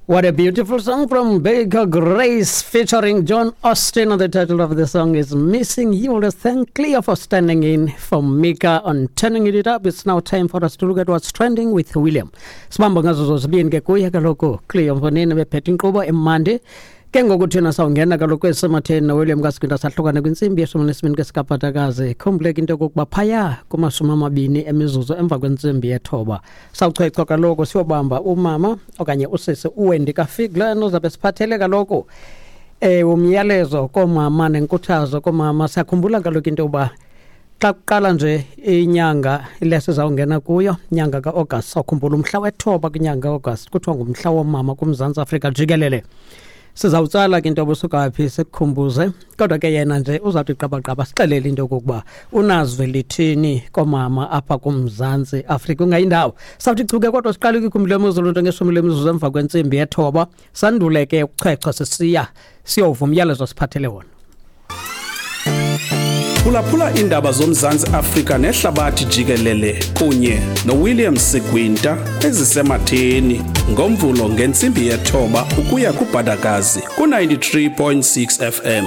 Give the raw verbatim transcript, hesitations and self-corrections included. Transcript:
What a beautiful song from Baker Grace featuring John Austin. And the title of the song is Missing You. Let's thank Cleo for standing in for Mika on Turning It Up. It's now time for us to look at what's trending with William. Sibamba ngazo zozibini ke kuye kaloku Cleo mfonini bephethe inkqubo emandi. Ke ngoku thina sawungena kaloku esematheni noWilliam kaSikwinta sahlukane kwintsimbi yeshumi nesibini kesikaphatakazi. Khumbuleka into yokokuba phaya kumashumi amabini emizuzu emva kwentsimbi yethoba sawuchwechwa kaloku siyobamba umama okanye usisi uWendy kaFiglan ozabe siphathele kaloku eh umyalezo koomama nenkuthazo koomama. Siyakhumbula kaloku into yokuba xa kuqala nje inyanga le sizawungena kuyo, inyanga ka-August, sawukhumbula umhla wethoba kwinyanga ka-August kuthiwa ngumhla woomama kuMzantsi Afrika jikelele. Sizawutsala ke into obusuka phi sikukhumbuze, kodwa ke yena nje uzawuthi qabaqaba sixelele into yokokuba unazwi lithini koomama apha kuMzantsi Afrika ungayindawo. Sawuthi chuke kodwa siqale kwigumbi lemozulu nto ngeshumi lemizuzu emva kwentsimbi yethoba, sandule ke ukuchwechwa sisiya siyova umyalezo siphathele wona. Phulaphula iindaba zoMzantsi Afrika nehlabathi jikelele kunye noWilliam Sigwinta ezisematheni ngoMvulo ngentsimbi yethoba ukuya kuBhadakazi ku-ninety-three point six F M.